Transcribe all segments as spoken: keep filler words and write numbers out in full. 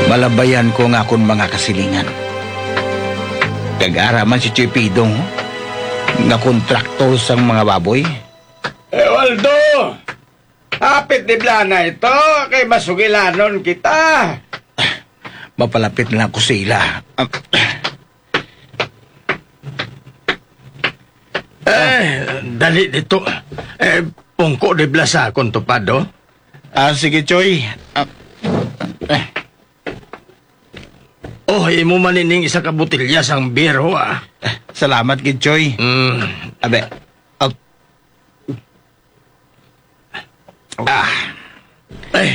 Malabayan ko nga akon mga kasilingan. Kag ara man si Choy Pidong nga kontraktor sang mga baboy. Eh, Waldo! Hapit ni Blana ito, kay masugilanon kita. Mapalapit na lang ko sa ila. Ah, Eh, dali dito. Eh, pungko di blasakon to, Pado. Ah, sige, Choy. Ah, eh. Oh, imo man ining isa ka botelya sang beer, ho, ah. Salamat gid, Choy. Mm. Abe. Ah. Ah. Ay,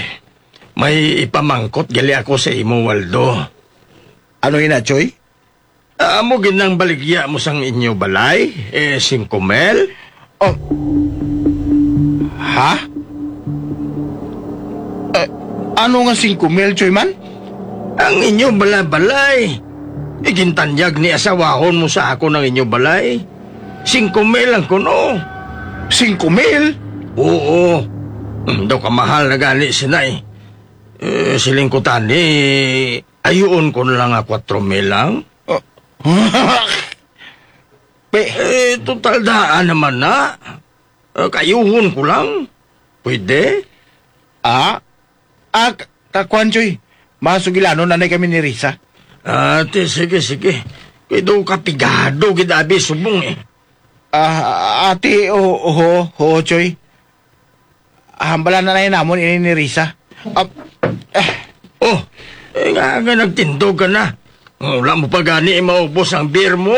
may ipamangkot gali ako sa imo, Waldo. Ano ina, Choy? Ah, amo gid nang baligya mo sang inyo balay, eh, singko mil? Oh. Ha? Eh, ano nga singko mil, Choy man? Ang inyo bala-balay. Igintanyag ni asawahon mo sa akon ang inyo balay. Singko mil lang kuno. Singko mil? Oo. Hmm, daw kamahal na gani sina, eh. Eh, siling ko tani, ayuon ko na lang nga kwatro mil lang. Oh. Pe- Eh, total daan naman na. Eh, kayuhon ko lang. Pwede? Ah? Ah, ka-, kakuan, Choy. Masugilanon anay kami ni Risa. Ate, sige, sige. Kay daw kapigado gid abi subong, eh. Ah, ate, o-, oho, ho, Choy. Hambala na lang namon ini ni Risa. Ah, eh. Oh, eh, nga, nga nagtindog ka na. Wala mo pa gani maubos ang beer mo.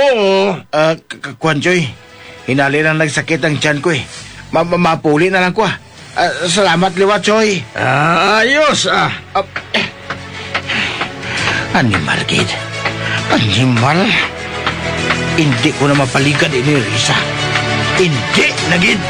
Ah, k-, k-, kuwan, Choy. Hinali lang nagsakit ang tiyan ko, eh. Ma-, ma-, mapuli na lang ko, ah. Ah, salamat liwat, Choy. Ah, ayos, ah. Ah, eh. Animal, gid. Animal. Hindi ko na mapaligad ini, Risa. Hindi na, gid.